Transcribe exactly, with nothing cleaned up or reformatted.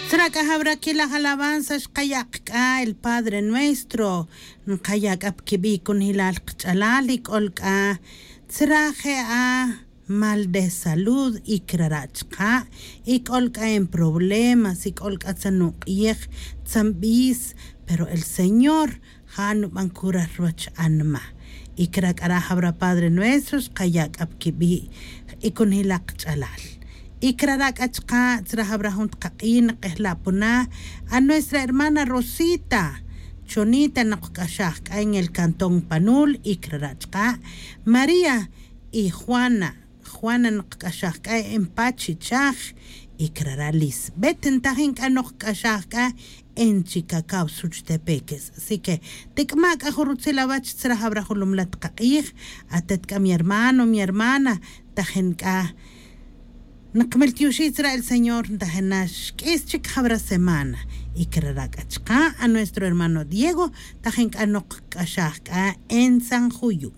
Tzra' k'a jawra kilaj alabanza xqaya' qa k'a el padre nuestro. Nqaya' k'a pa kibi' kunjilal qach'alal y k'ol k'a tzra' je' a mal de salud y krara' chaqa' y k'ol k'a en problemas y k'ol k'a tzan nuq'iyej tzan b'is. Pero el señor ja' nub'an kurar ruwach anma. Y kra' k'ara' jawra padre nuestro xqaya' k'a pa kibi' y kunjila' qach'alal. Y krara' k'a chaqa' tzra' jawra jun tqaq'i' nq'ejla' puna a nuestra hermana rosita chonita noq qk'axaj k'a en el cantón panul y krara' chaqa' maría y juana. Juana noq qk'axaj k'a en pachichaj y krara' lisbet ntajin k'a noq qk'axaj k'a en chikakaw such tepeques. Así que tik'ma' k'a jun rutzil awach tzra' jawra jun lumla' tqaq'ij. Atet k'a mi hermano mi hermana tajin k'a nqmiltioxij tzra' el señor ntajin na xk'is chik jawra semana. Y krara' k'a chaqa' a nuestro hermano diego tajin k'a noq qk'axaj k'a en san juyu.